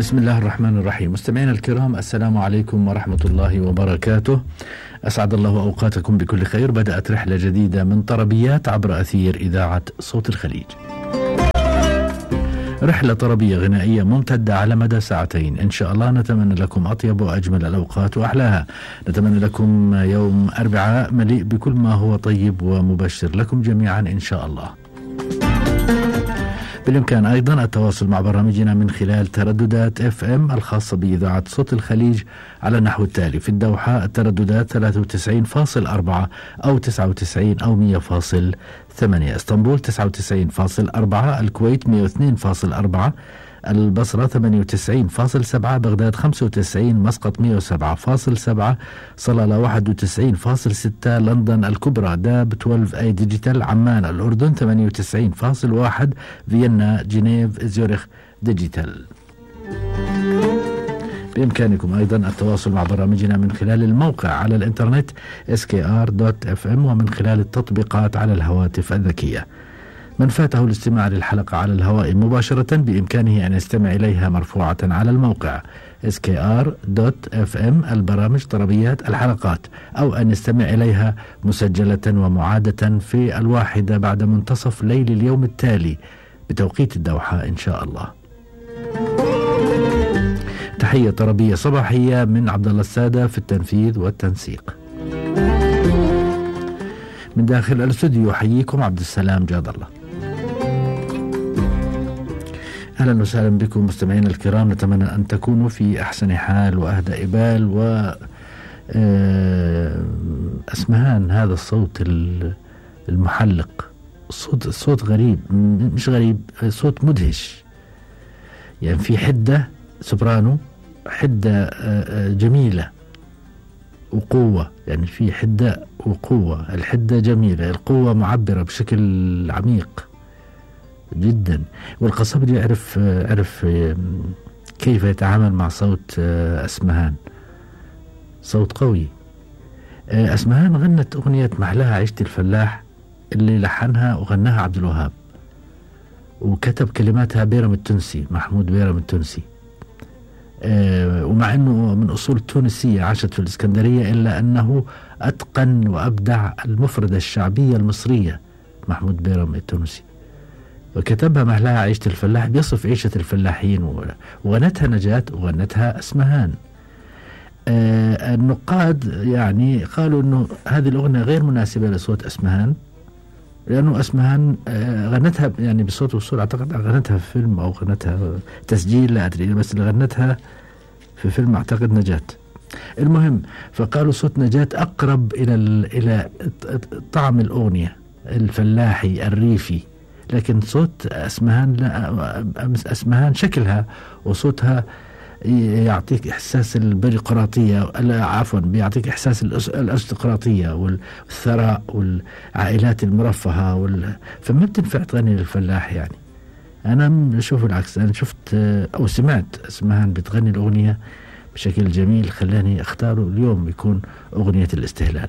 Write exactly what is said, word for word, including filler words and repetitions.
بسم الله الرحمن الرحيم. مستمعينا الكرام، السلام عليكم ورحمة الله وبركاته. أسعد الله أوقاتكم بكل خير. بدأت رحلة جديدة من طربيات عبر أثير إذاعة صوت الخليج، رحلة طربية غنائية ممتدة على مدى ساعتين إن شاء الله. نتمنى لكم أطيب وأجمل الأوقات وأحلاها. نتمنى لكم يوم أربعاء مليء بكل ما هو طيب ومبشر لكم جميعا إن شاء الله. بالإمكان أيضا التواصل مع برامجنا من خلال ترددات اف ام الخاصة بإذاعة صوت الخليج على النحو التالي: في الدوحة الترددات ثلاثة وتسعين فاصلة أربعة أو تسعة وتسعين أو مية فاصلة ثمانية، اسطنبول تسعة وتسعين فاصلة أربعة، الكويت مية واثنين فاصلة أربعة، البصرة ثمانية وتسعين فاصلة سبعة، بغداد خمسة وتسعين، مسقط مية وسبعة فاصلة سبعة، صلالة واحد وتسعين فاصلة ستة، لندن الكبرى داب اثنا عشر اي ديجيتال، عمان الأردن ثمانية وتسعين فاصلة واحد، فيينا جنيف زيورخ ديجيتال. بإمكانكم أيضا التواصل مع برامجنا من خلال الموقع على الإنترنت اس كي ار دوت اف ام ومن خلال التطبيقات على الهواتف الذكية. من فاته الاستماع للحلقة على الهواء مباشرة بإمكانه أن يستمع إليها مرفوعة على الموقع اس كي ار دوت اف ام البرامج طربيات الحلقات، أو أن يستمع إليها مسجلة ومعادة في الواحدة بعد منتصف ليل اليوم التالي بتوقيت الدوحة إن شاء الله. تحية طربية صباحية من عبد الله السادة في التنفيذ والتنسيق. من داخل الاستوديو يحييكم عبد السلام جاد الله. أهلا وسهلا بكم مستمعينا الكرام. نتمنى أن تكونوا في أحسن حال وأهدى بال. و أسمهان، هذا الصوت المحلق، صوت صوت غريب، مش غريب، صوت مدهش، يعني في حدة سوبرانو، حدة جميلة وقوة، يعني في حدة وقوة. الحدة جميلة، القوة معبرة بشكل عميق جدا. والقصبجي يعرف عرف كيف يتعامل مع صوت أسمهان، صوت قوي. أسمهان غنت أغنية محلاها عيشة الفلاح اللي لحنها وغناها عبد الوهاب، وكتب كلماتها بيرم التونسي، محمود بيرم التونسي. ومع أنه من أصول تونسية عاشت في الإسكندرية، إلا أنه أتقن وأبدع المفردة الشعبية المصرية محمود بيرم التونسي، وكتبها محلاها عيشة الفلاح بيصف عيشة الفلاحين، وغنتها نجاة وغنتها أسمهان. آه النقاد يعني قالوا أنه هذه الأغنية غير مناسبة لصوت أسمهان، لأنه أسمهان آه غنتها يعني بصوت وصول، أعتقد غنتها في فيلم أو غنتها تسجيل لا أدري، بس اللي غنتها في فيلم أعتقد نجاة. المهم، فقالوا صوت نجاة أقرب إلى إلى طعم الأغنية الفلاحي الريفي، لكن صوت أسمهان لا، أسمهان شكلها وصوتها يعطيك إحساس البيروقراطية، عفوا بيعطيك إحساس الأرستقراطية والثراء والعائلات المرفهة وال... فما بتنفع تغني للفلاح. يعني أنا أشوف العكس، أنا شفت أو سمعت أسمهان بتغني الأغنية بشكل جميل، خلاني أختاره اليوم يكون أغنية الاستهلال.